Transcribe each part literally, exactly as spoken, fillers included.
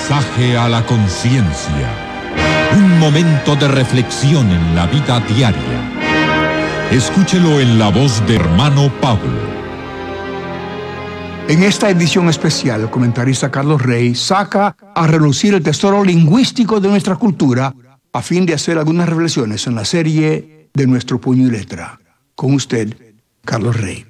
Mensaje a la conciencia. Un momento de reflexión en la vida diaria. Escúchelo en la voz de hermano Pablo. En esta edición especial, el comentarista Carlos Rey saca a relucir el tesoro lingüístico de nuestra cultura a fin de hacer algunas reflexiones en la serie de nuestro puño y letra. Con usted, Carlos Rey.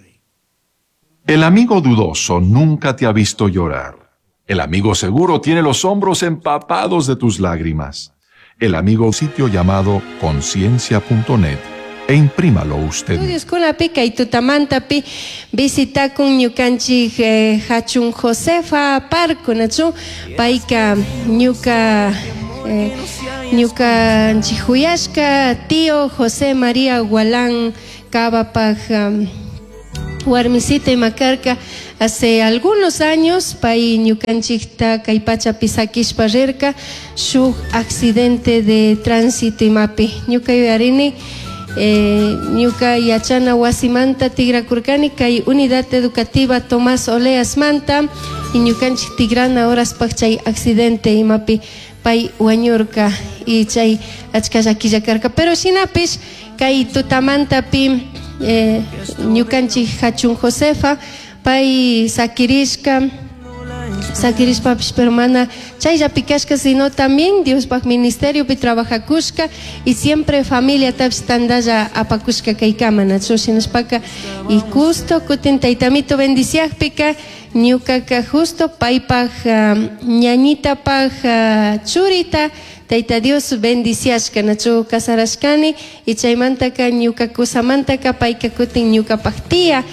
El amigo dudoso nunca te ha visto llorar. El amigo seguro tiene los hombros empapados de tus lágrimas. El amigo sitio llamado conciencia punto net e imprímalo usted. Estudios kay tutamantapi visitakun ñukanchik, eh, Hachun Josefa Parco, nachu payka ñuka, eh, ñukanchik huyashka tío José María Gualán Cabapaj, um, warmisita imakarka hace algunos años pay ñukanchikta kay pachapi sakishpa rirka shuk accidente de tránsito imapi ñuka yuyarini, eh, ñuka yachana wasimanta tigrakurkani kay unidad educativa Tomás Oleas manta y ñukanchik tigrana horaspaj chay accidente imapi pay wañurka y chay achka llaquilla karka pero shinapish kay tutamantapi, eh, ñukanchik Hachun Josefa pay sakirishka sakirishpapish pero mana chayllapi kashka sino también Diospaj ministeriopi trabajakushka y siempre familia tapish tandalla apakushka kaykama nachu shinashpaka y justo kutin taytamito bendiciajpika ñukaka justo paypaj, um, ñañitapaj, uh, churita Tayta Dios bendiciashka nachu casarashkani y chaymantaka ñuka kusamantaka payka kutin ñukapaj tía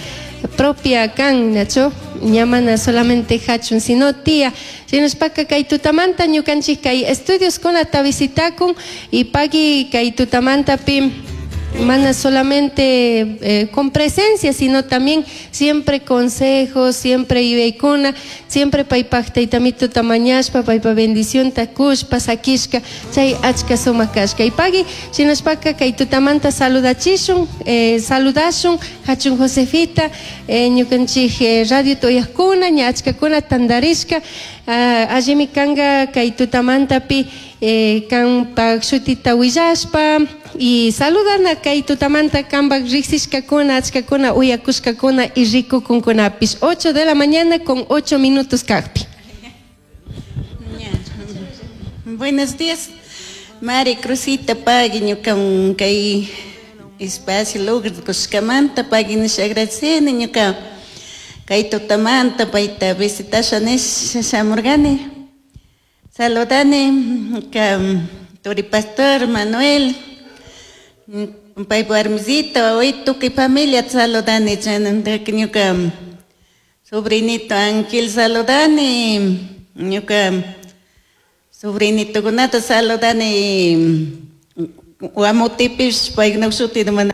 propia kan nachu ñamana solamente hachun sino tía shinashpaka kay tutamanta ñukanchik kay estudios kunata visitakun y pagui kay tutamantapi mana solamente, eh, con presencia, sino también siempre consejos, siempre yuyaykuna, siempre paypaj taytamito tamañashpa, paypa bendición takushpa, sakishka, chay achka sumak kashka. Y pagui, shinashpaka kay tutamanta saludachishun, eh, saludashun, hachun Josefita, eh, ñukanchik, eh, radio toyajkuna, ña achkakuna tandarishka, ah, allimi kanga kay tutamantapi, eh, kanpak shutita willashpa, y saludana kay tutamanta kanpak riksishkakuna, achkakuna, uyakushkakuna y rikukunkunapis. ocho de la mañana con ocho minutos kajpi. Buenos días, Mari Cruzita, pagui ñuka kay espacio lugar kushkamanta, pagui nisha agradeceni ñuka kay tutamanta payta visitasha nisha shamurgani. Saludani ka turi pastor Manuel, pay warmisita, hoy tukuy familia saludani, chanantaka ñuka sobrinito Ángel saludani, ñuka sobrinito kunata saludani, wamutipis paykuna shuti mana